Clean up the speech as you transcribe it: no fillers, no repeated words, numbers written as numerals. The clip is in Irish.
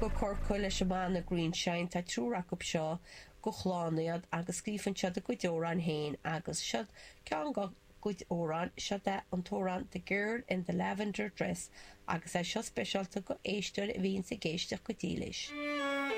Go Corcaigh leis an mbanna Greenshine. Tá triúr acu seo gur clann iad agus scríobhann siad a gcuid amhráin féin agus seo ceann dá gcuid amhrán, seo é an t-amhrán 'The Girl in the Lavender Dress' agus é seo speisialta go éisteoir a bhíonns ag éisteacht go dílis.